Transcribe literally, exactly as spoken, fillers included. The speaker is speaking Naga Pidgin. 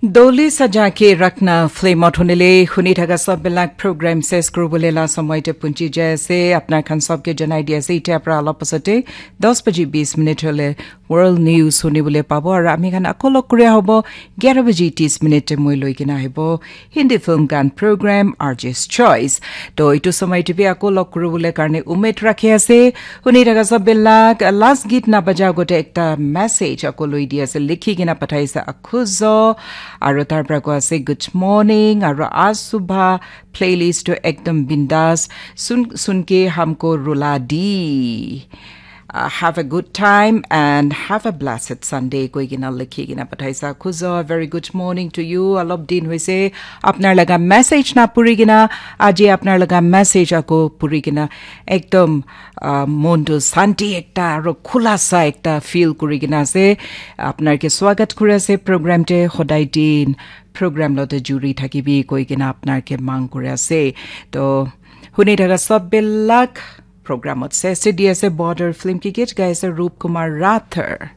Doli Saja Ke Rakhna film ot hunile huni thaka sab bilak program ses kuribole la samay te punchi jai ase. Apnar khan sabke janai di ase, itya pra alop pasate das baji bis minute hole World News hunibole pabo. Aru ami khan ako log kuria hobo gyara baji tis minute te moi loi kena ahibo Hindi film khan program R J's Choice. To itu samay te bi ako log kuribole karne umed rakhi ase. Huni thaka sab bilak last git na baja gote ekta message ako loi di ase, likhi kena pathaise Akhuzo. Aru tar pra ko ase good morning aru aaj subha playlist to ekdom bindas sun sun ke humko rula di. Uh, have a good time and have a blessed Sunday koi kena likhi kena pathaise Akhuzo. Very good morning to you. Alop din hoise apnar laga message na puri kena, aji apnar laga message ako puri kena ekdom uh, mon tu santi ekta aru khulasa ekta feel kuri kena ase. Apnar ke swagat kuri ase program te. Hodai din program lote juri thakibi koi kena apnar ke mang kuri ase. To huni thaka sab bilak program ot ses di ase. Border film ki git gai ase Rup Kumar Rathore.